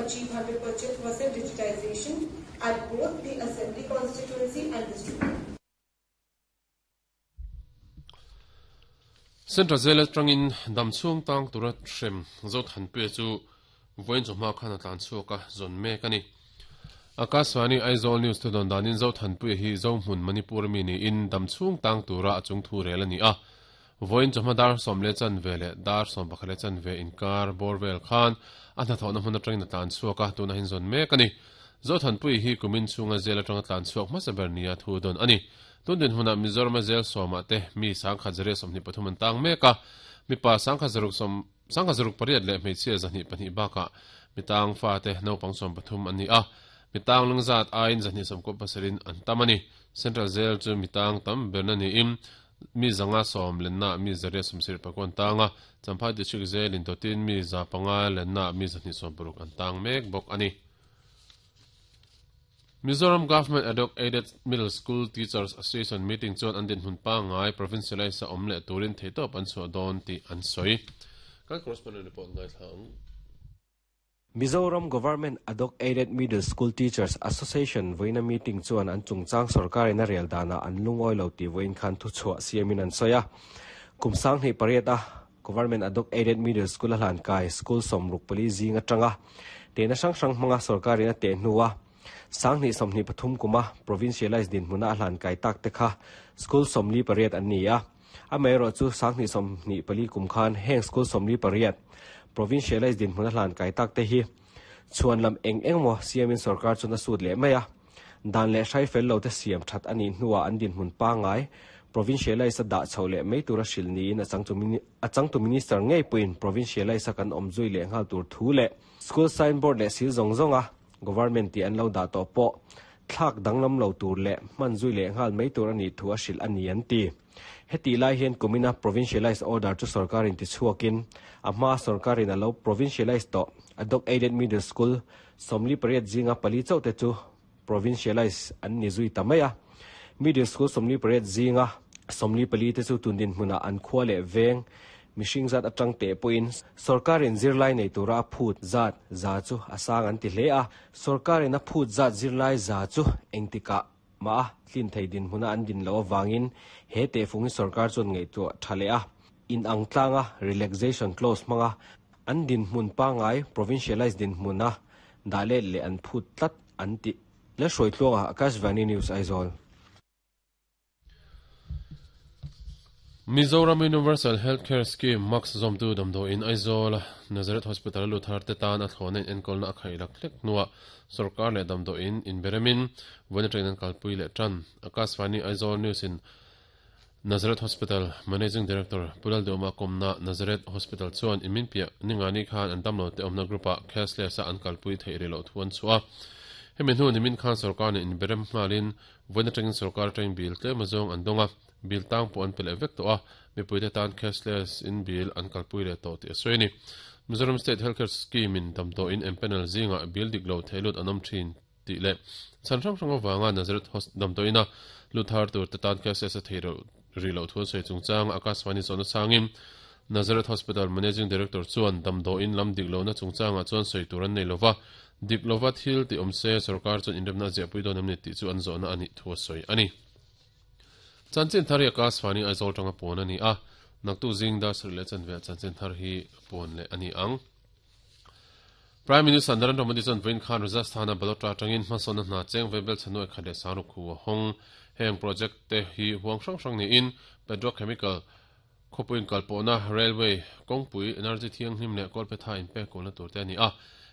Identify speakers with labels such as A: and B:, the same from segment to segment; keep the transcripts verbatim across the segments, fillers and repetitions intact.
A: achieve one hundred percent digitization at both the assembly constituency and district.
B: Central Jail atangin damchhung tang tura hrem zo thanpui chu voin chawhma khan a tlan chhuak a zawn mek a ni. Akashvani Aizawl News thu dawn danin zo thanpui hi zo hmun Manipur mi niin damchhung tang tura a chung thu rel a ni a. Voin chawhma dar sawm le chan ve leh dar sawm pakhat le chan ve inkar borvel khan a hnathawhna hmun atangin a tlan chhuak a tuna hin zawn mek a ni. Zo thanpui hi kumin chhunga jail atanga tlan chhuak hmasa ber nia thu dawn a ni. Tundin huna Mizoram jail sawma te mi sangkhat zare sawmhnih pathum an tang mek a mipa sangkhat zaruk sawm sangkhat zaruk pariat leh hmeichhia zahnih pahnih bakah mitang fa te naupang sawm pathum an ni a mitang lungzat aiin zahnih sawmkaw pasarin an tam a ni. Central Jail chu mitang tam berna niin mi zanga sawm lenna mi zariat sawmsarih pakua an tang a Champhai District Jail in totin mi za panga lenna mi zahnih sawm paruk an tang mek bawk a ni. Mizoram Government Ad Hoc Aided Middle School Teachers Association meeting chuan an din hun pa ngai provincialize a awm leh turin theitawp an chhuah dawn tih an sawi. Kan correspondent report ngai thlang.
C: Mizoram Government Ad Hoc Aided Middle School Teachers Association voina meeting chuan an chungchang sarkarin a rel dana an lungawi lo ti voin khan thu chhuah siamin an sawi a. Kumsang hnih pariat a Government Ad Hoc Aided Middle School a hlan kai school sawmruk pali zing atanga tena hrang hrang hmanga sarkarin a teh hnuah Sangni somni pathum kuma provincialized din hmuna a hlan kai tak te kha school somli pariat an ni a amaherawh chu sangni somni pali kum khan heng school somli pariat provincialized din hmuna hlan kai tak te hi chuan lam eng engmaw siamin sarkar chuna sut leh mai a dan leh hrai fel lo te siam that ani hnuah an din hmun pangai provincialized a dah chho leh mai tura hril niin a changtu a changtu minister ngei puin provincialized a kan awm zui leh nghal tur thu leh school signboard leh sil zawng zawng a government ti an lo dah tawh pawh thlak danglam lo tur leh hman zui leh nghal mai tur ani thu a hril ani an ti. Heti lai hian kumina provincialized order chu sarkarin ti chhuakin a hma sarkarin a lo provincialized tawh ad hoc aided middle school sawmli pariat zinga pali chauh te chu provincialized an ni zui ta mai a. Middle school sawmli pariat zinga sawmli pali te chu tundin hmuna an khua leh veng mihring zat atang te pawhin sarkarin zirlai nei tura a phut zat za chu a sang an ti hle a sarkarin a phut zat zirlai za chu engtikah ma tlin thei din hmuna an din lo awangin he te fungin sarkar chuan ngei chu tha leh a in ang tlanga relaxation clause hmanga an din hmun pangai provincialized din hmuna dah let leh an phut tlat an ti le hruai tluanga Akashvani News Aizawl.
B: Mizoram Universal Healthcare Scheme Max Zomtu Damdo in Aizawl Nazareth Hospital Luthar te tan a thlawna in enkawl na a khaih lak hlek hnuah sarkar leh damdaw in inberemin vawiin atangin an kalpui leh tan. Akashvani Aizawl News in Nazareth Hospital Managing Director Pulal Doma Komna Nazareth Hospital chuan imin piah ningani khan an damlo te awmna group ah cashless a an kalpui theih rih loh thu an chhuah a. Hemi hnu nimin khan sarkar nen inberem nghalin vawiin atangin sarkar atangin bil tlem azawng an dawng a bil tang pawh an pe leh vek tawh a mipui te tan cashless in bil an kalpui leh tawh tih a sawi a ni. Mizoram State Healthcare Scheme in damdaw in empanel zinga bil dik lo theilut an awm thin tih leh chhan hrang hrang awanga Nazareth damdaw ina luthar tur te tan cashless a thei rih loh thu an sawi chungchang Akashvani zawhna sangin Nazareth Hospital Managing Director chuan damdaw in lam dik lohna chungchangah chuan sawi tur an nei lova dik lova thil ti awm se sarkar chuan inremna a ziahpui dawn em ni tih chu an zawhna a nih thu a sawi a ni. Chanchin thar hi Akashvani Aizawl tanga pawn a ni a naktu zing dar sarih leh chanve ah chanchin thar hi pawn leh a ni ang. Prime Minister Narendra Modi chuan vawiin khan Rajasthan a Balotra atangin hmasawnna hna cheng vebel chhanuai khat leh sangruk hu a hawng. Heng project te hi huang hrang hrang niin petrochemical khawpuiin kalpawhna railway kawngpui energy thianghlim leh kawlphetha inpek kawlna tur te a ni a.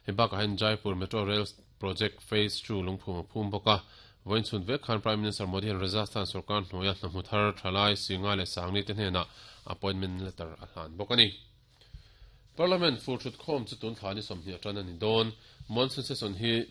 B: Hei bakah hian Jaipur Metro Rail Project Phase two lungphum a phum bawk a. Vawiin chhun vek khan Prime Minister Modi hian Rajasthan sarkar hnuaia hnahmu thar thalai Singa leh Sangli te hnenah appointment letter a hlan bawk a ni. Parliament fur thut khawm chu tun thla ni sawmhnih atan a ni dawn. Monsoon session hi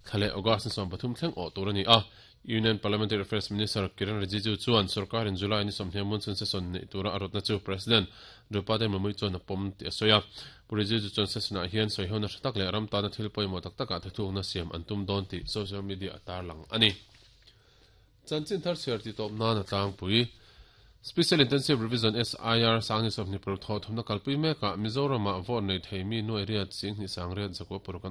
B: thla leh August ni sawm pathum thleng awh tur a ni a. Union Parliamentary Affairs Minister Kiren Rijiju chuan sarkarin July ni sawmhnih monsoon session nei tura a rawtna chu President Draupadi Murmu chuan a pawm tih a sawi a. Pu Rijiju chuan session ah hian sawihona hre tak leh ram tana thil pawimawh tak takah thuthlukna siam an tum dawn tih social media a tarlang a ni. Chanchin thar chhiar ti tawp nan a tlangpui. Special Intensive Revision S I R sangni sawmhnih paruk thawh thumna kalpui mekah Mizoramah vote nei thei mi nuai riat singhnih sang riat zakua paruk an